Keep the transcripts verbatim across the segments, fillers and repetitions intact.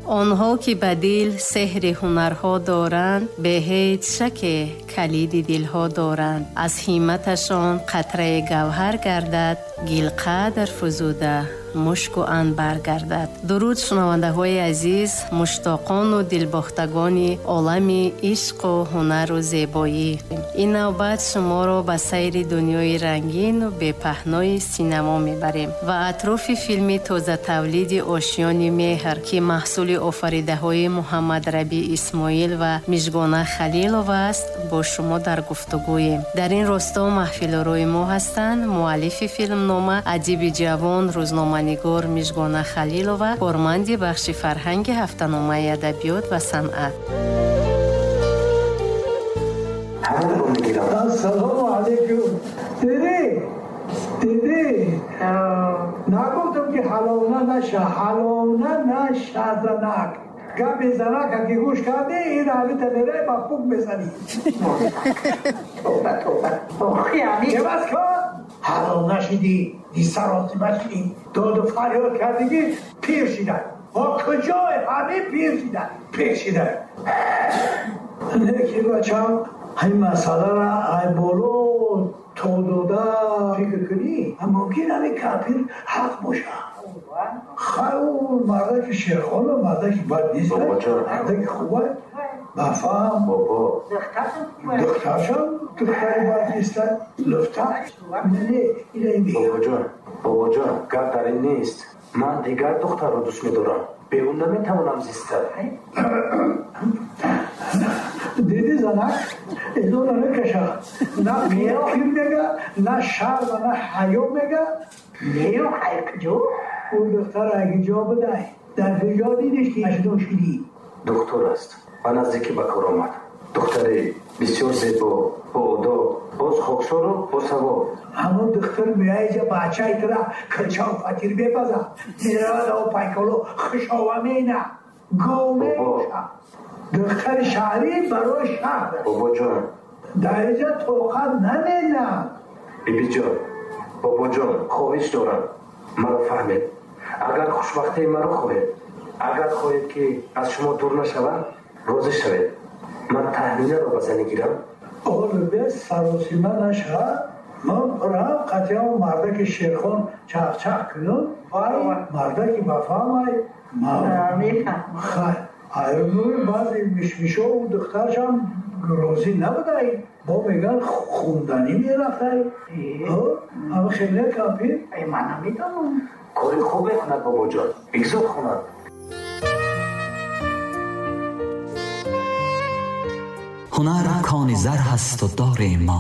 Онҳо ки ба дил сеҳри ҳунарҳо доранд, бе ҳеҷ шаке калиди дилҳо доранд. Аз ҳимматашон қатраи гавҳар гардад, гилқадр фузуда мушку анбар гардад. Дуруд шунавандаҳои азиз, муштоқону дилбохтагони олами ишқу ҳунару зебоӣ. Ин навбат шуморо ба сайри дунёи рангину бепаҳнои синамо мебарем ва атрофи филми тозатавлиди Ошёни меҳр, ки маҳсули офаридаҳои Муҳаммадрабӣ Исмоил ва Мижгона Халилова аст, бо шумо дар гуфтугӯем. Дар ин росто маҳфилорои мо ҳастанд муаллифи филмнома, адиби ҷавон, рӯзнома нигор Мижгона Халилова, корманди бахши фарҳанги ҳафтаномаи адабиёт ва санъат. Ассалому алайкум. Диди, диди, нагуфтам ки ҳалона наша, ҳалона наша занак. Гапи занака ки гӯш кардӣ, ин ҳавита мерай ба пук мезанӣ. Тоба, тоба. Охи, ами. Чеваз кун? Ҳалона шидӣ, дисаросима шидӣ, доду фарёд кардӣ ки пир шида. Бо куҷое ҳамин пир шида, пир шида. Лекин бачам, ҳамин масъаларо ай боло то дода фикр кунӣ, мумкин ҳамин кампир ҳақ боша. Хай, ӯ мардаки шерхона, мардаки бад нест, мардаки хуба, бафаҳм. Духтаршам духтари бад нест, луфта. Не, ина ин мегӯям. Бобоҷон, бобоҷон, гап дар ин нест. Ман дигар духтарро дӯст медорам. Бе ӯ наметавонам зиста. Диди занак, изона накаша. На пир мега, на шарма, на ҳаё мега. Нею хай куҷо? Ӯ духтар аги ҷо будай. Дар куҷо дидиш ки ашдо шидӣ? Духтур аст. Ба наздикӣ ба кор омад. Духтари бисёр зебо, боодоб, боз хоксору босавоб. Ҳамон духтур меяиҷа бачаи тура килчаву фатир мепазад. Меравад ав пайколо хушова мена, гов мекуша. Духтари шаҳрӣ барои шаҳр. Бобоҷон. Дар иҷа тоқат наменад. Бибиҷон, бобоҷон, хоҳиш дорам, маро фаҳмед. Агар хушбахтии маро хоҳед, агар хоҳед ки аз шумо дур нашавам, розӣ шавед. Ман Таҳминаро ба занӣ гирам. Олубе саросима наша. Ман рам қатъиан мардаки шерхон чахчах кунам. Вай мардаки бафаҳмай. Хай, айрӯи баъзе мишмишову духтаршам розӣ набудай. Бо меган хунданӣ мерафтай. Ама хеле кампир. Ман намедонам. Кори хуб мекунад бобоҷон, бигзор хонад. ҳунар кони зар ҳасту дорем мо,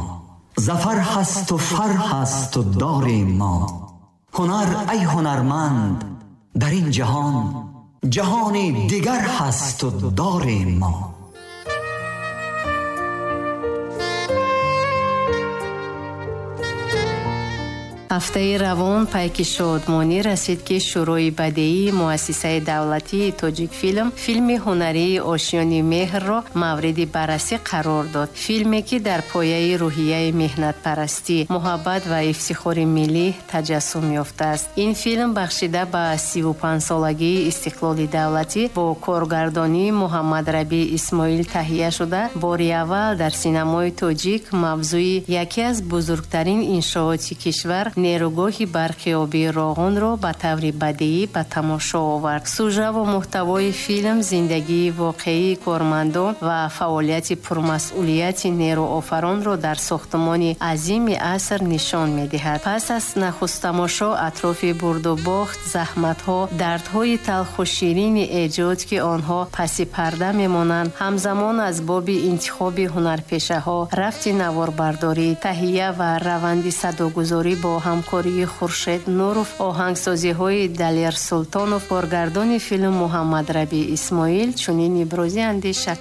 зафар ҳасту фар ҳасту дорем мо. ҳунар ай ҳунарманд дар ин ҷаҳон, ҷаҳони дигар ҳасту дорем мо. Ҳафтаи равон пайки шодмонӣ расид, ки Шӯрои бадеии муассисаи давлатии Тоҷикфилм филми ҳунарии Ошёни меҳрро мавриди баррасӣ қарор дод. Филме, ки дар пояи рӯҳияи меҳнатпарастӣ, муҳаббат ва ифтихори миллӣ таҷассум ёфтааст. Ин филм бахшида ба сиву панҷсолагии истиқлоли давлатӣ бо коргардонии Муҳаммадрабӣ Исмоил таҳия шуда, бори аввал дар синамои тоҷик мавзӯи яке аз бузургтарин иншооти кишвар, нерӯгоҳи барқи обии Роғунро ба таври бадеӣ ба тамошо овард. Сужаву муҳтавои филм зиндагии воқеии кормандон ва фаъолияти пурмасъулияти нерӯофаронро дар сохтмони азими аср нишон медиҳад. Пас аз нахусттамошо атрофи бурдубохт, заҳматҳо, дардҳои талху ширини эҷод, ки онҳо паси парда мемонанд, ҳамзамон аз боби интихоби ҳунарпешаҳо, рафти наворбардорӣ, таҳия ва раванди садогузорӣ бо ҳамкории Хуршед Нуров, оҳангсозиҳои Далер Султонов, коргардони филм Муҳаммадрабӣ Исмоил чунин ибрози андеша.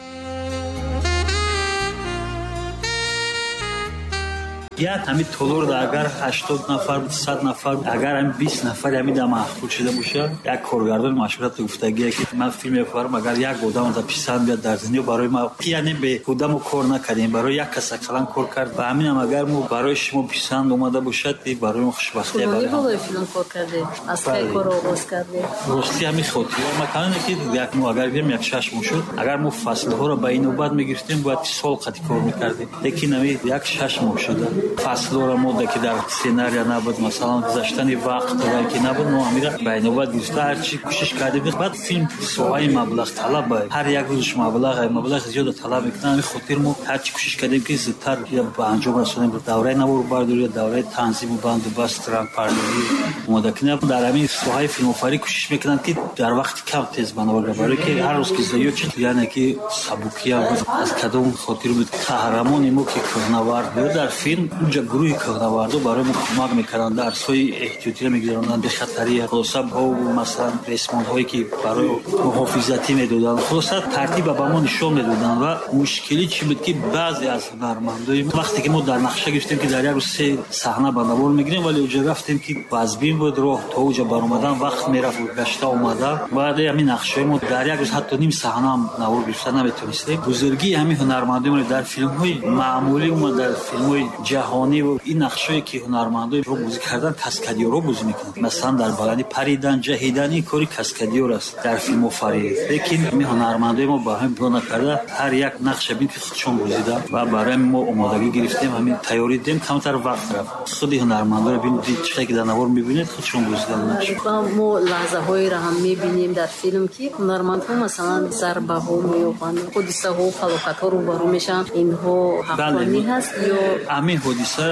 Як ҳамин толорда агар ҳаштод нафар, сад нафар, агар ҳамин бист нафар ҳамин да маъқул шуда бошад, як коргардони машҳурат гуфтагие ки ман филм мефарам, агар як одам да писанд биёд дар дунё барои ма, яъне беҳуда мо кор накардем, барои як кас ақаллан кор кард. Ба ҳаминам агар мо барои шумо писанд омада бошад, барои мо хушбахтӣ. Барои болои филм кор кардед, аз кай кор оғоз кардед? Рости ҳамин хотира макане ки як мо агар гирем як шаш моҳ шуд, агар мо фаслҳоро ба ин навбат мегирифтем, бояд сол қати кор мекардем, лекин ҳамин як шаш моҳ шуда. Фаслҳоро мо ки дар сценария набуд, масалан гузаштани вақт ва ки набуд, мо ҳамира ба ин навбат гирифта ҳарчи кӯшиш кардем. Баъд филм соҳаи маблағ талаб, ҳар як рӯзш маблағ, маблағ зиёда талаб мекунад. Ҳамин хотир мо ҳарчи кӯшиш кардем ки зудтар ба анҷом расонем, давраи наворбардорӣ, давраи танзиму банду баст, рангпардозӣ омода кунем. Дар ҳамин соҳаи филмофарӣ кӯшиш мекунанд ки дар вақти кам тез ба навор, барое ки ҳар рӯз ки зиёд шуд, яъне ки сабукия буд. Аз кадом хотир буд қаҳрамони мо ки кӯҳнавард буд дар филм, унҷа гурӯҳи кӯҳнавардо барои мо кӯмак мекарданд, дарсҳои эҳтиётиро мегузаронданд, бехатарӣ, хулоса масалан ресмонҳое ки барои муҳофизатӣ медоданд, хулоса тартиба ба мо нишон медоданд. Ва мушкилӣ чӣ буд ки баъзе аз ҳунармандои вақте ки мо дар нақша гирифтем ки дар як рӯз се саҳна ба навор мегирем, вале уҷа рафтем ки вазбин буд роҳ, то уҷа баромадан вақт мерафт, гашта омада. Баъд ҳамин нақшаҳои мо дар як рӯз ҳатто ним саҳнаам навор гирифта наметонистем. Бузургии ҳамин ҳунармандои мо дар филмҳои маъмулӣ ва дар филмҳои ҷаҳонӣ ва ин нақшҳое ки ҳунармандои ро бозӣ кардан, каскадиёрро бозӣ мекунанд. Масалан дар баландӣ паридан, ҷаҳидан, ин кори каскадиёр аст дар филмофарӣ. Лекин ҳамин ҳунармандои мо ба ҳамин бо накарда ҳар як нақша бин ки худшон бозидан ва барои мо омодагӣ гирифтем, ҳамин тайёрӣ дидем, камтар вақт рафт. Худи ҳунармандоро бин чӣ ки дар навор мебинед, худшон бозидан нақш. Ва мо лаҳзаҳоеро ҳам мебинем дар филм ки ҳунармандҳо масалан зарбаҳо меёбанд, ҳодисаҳо, фалокатҳо рӯбарӯ мешаванд. Инҳо ҳаққонӣ ҳаст ё ҳамин ҳодиса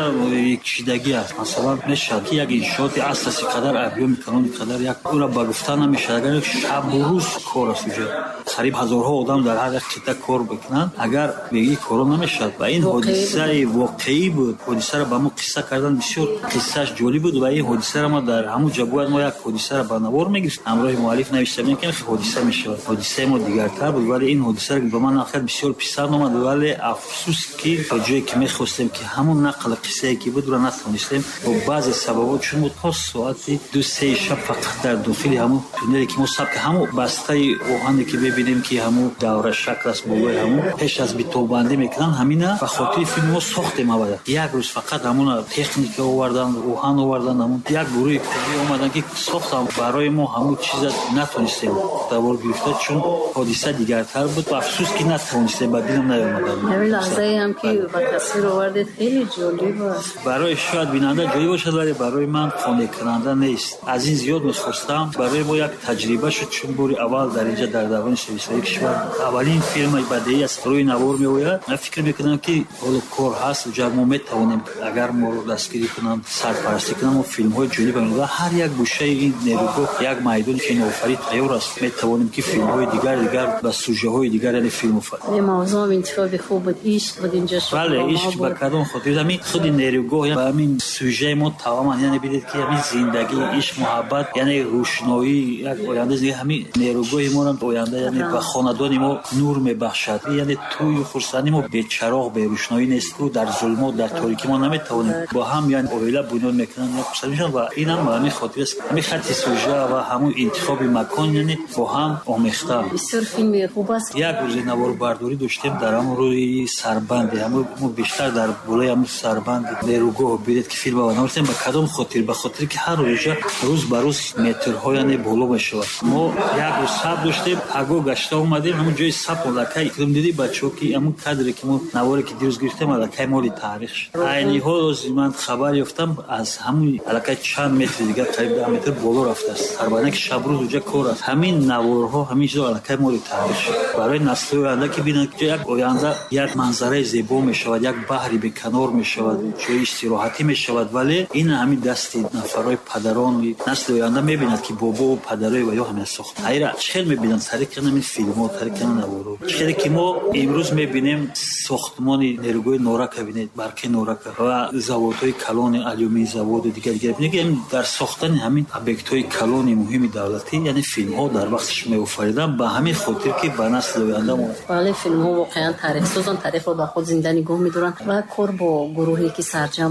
кшидагӣ аст? Масалан мешавад ки як иншооти асоси қадар объёми калони қадар як ӯра ба гуфта намешавад, агар шабу рӯз кор аст, уҷа қариб ҳазорҳо одам дар ҳар як қитъа кор бикунанд, агар беги коро намешавад. Ва ин ҳодисаи воқеӣ буд. Ҳодисаро ба мо қисса кардан бисёр қиссааш ҷолиб буд ва ин ҳодисаро мо дар ҳамун ҷо бояд мо як ҳодисаро ба навор мегирифтем, ҳамроҳи муаллиф навишта будем ки ҳодиса мешавад. Ҳодисаи мо дигартар буд, вале ин ҳодисаро ба ман нақл бисёр писанд омад, вале афсӯс ки то ҷое ки мехостем ки ҳамун нақли қиссае ки буд ро натавонистем бо баъзе сабабҳо, чун мо то соати ду се шаб фақат дар дохили ҳамун туннеле ки мо саб ҳамун бастаи оҳане ки мебинем ки ҳамун давра шакл аст болои ҳамун пеш аз битобандӣ мекунанд, ҳамина ба хотири филм мо сохтем. Аввала як рӯз фақат ҳамуна техника овардан, оҳан овардан, ҳамун як гурӯҳи корӣ омадан ки сохтан барои мо ҳамун чиза натонистем давор гирифта, чун ҳодиса дигартар буд. Афсӯс ки натавонистем, ба дилам наомадан. Ҳамин лаҳзае ҳам ки ба тасвир овардед хеле ҷолиб аст. Барои шояд бинанда ҷолиб бошад, вале барои ман қонеъкунанда нест. Аз ин зиёд мехостам. Барои мо як таҷриба шуд, чун бори аввал дар инҷа дар давраи советии кишвар аввалин филми бадеӣ аз рӯи навор меояд. Ман фикр мекунам ки ҳоло кор ҳаст, уҷа мо метавонем агар моро дастгирӣ кунанд, сарпарастӣ кунанд, мо филмҳои ҷолиб ва ҳар як гӯшаи ин нерӯгоҳ як майдони киноофарӣ тайёр аст. Метавонем ки филмҳои дигар дигар ба сужаҳои дигар, яъне филмофарӣ. Ин мавзӯъ интихоби хуб буд, ишқ буд инҷо. Бале, ишқ ба кадом хотир? Ҳамин худи нерӯгоҳ ба ҳамин сужаи мо тамоман, яъне бидед ки ҳамин зиндагӣ, ишқ, муҳаббат, яъне рӯшноӣ, як оянда зиндагӣ, ҳамин нерӯгоҳи мо ҳам оянда, яъне ба хонадони мо нур мебахшад. Яъне тӯю хурсандии мо бечароғ, берӯшноӣ нест, ку дар зулмот, дар торикӣ мо наметавонем бо ҳам, яъне оила бунёд мекунанд, як хурсанд мешаванд. Ва инам ба ҳамин хотир аст, ҳамин хатти сужа ва ҳамун интихоби макон, яъне бо ҳам омехта. Бисёр филми хуб аст. Як рӯзи наворбардорӣ доштем дар ҳамон рӯи сарбанде, ҳамон мо бештар дар болои ҳамон сарбанди нерӯгоҳ бидед ки филм ба навиштем. Ба кадом хотир? Ба хотире ки ҳар рӯза рӯз ба рӯз метрҳо яъне боло мешавад. Мо як рӯз саб доштем, паго гашта омадем, ҳамон ҷои саб аллакай дидӣ бачаҳо ки ҳамон кадре ки мо наворе ки дирӯз гирифтем аллакай моли таърих шуд. Айни ҳол ман хабар ёфтам аз ҳамон аллакай чанд метри дигар, қариб даҳ метр боло рафтааст сарбанде ки шабрӯз уҷа кор аст. Ҳамин наворҳо, ҳамин чизо аллакай моли таърих шуд барои насли оянда ки бинанд ки як оянда як манзараи зебо мешавад, як баҳри беканор мешавад, ҷои истироҳатӣ мешавад. Вале ин ҳамин дасти нафарҳои падарони насли оянда мебинад ки бобову падарои ва ё ҳамин сохт. Айра чӣ хел мебинанд? Тариқи ҳамин филмҳо, тариқи ҳамин наворҳо. Чӣ хеле ки мо имрӯз мебинем сохтмони нерӯгоҳи Норака, бинед барқи Норака ва заводҳои калони алюминий заводу дигар дигар бинед, дар сохтани ҳамин объектҳои калони муҳими давлатӣ, яъне филмҳо дар вақташ меофариданд, ба ҳамин хотир ки ба насли оянда мо. Бале, филмҳо воқеан таърихсозанд, таърихро ба худ зинда нигоҳ медоранд ва кор бо гурӯҳе ки сарҷам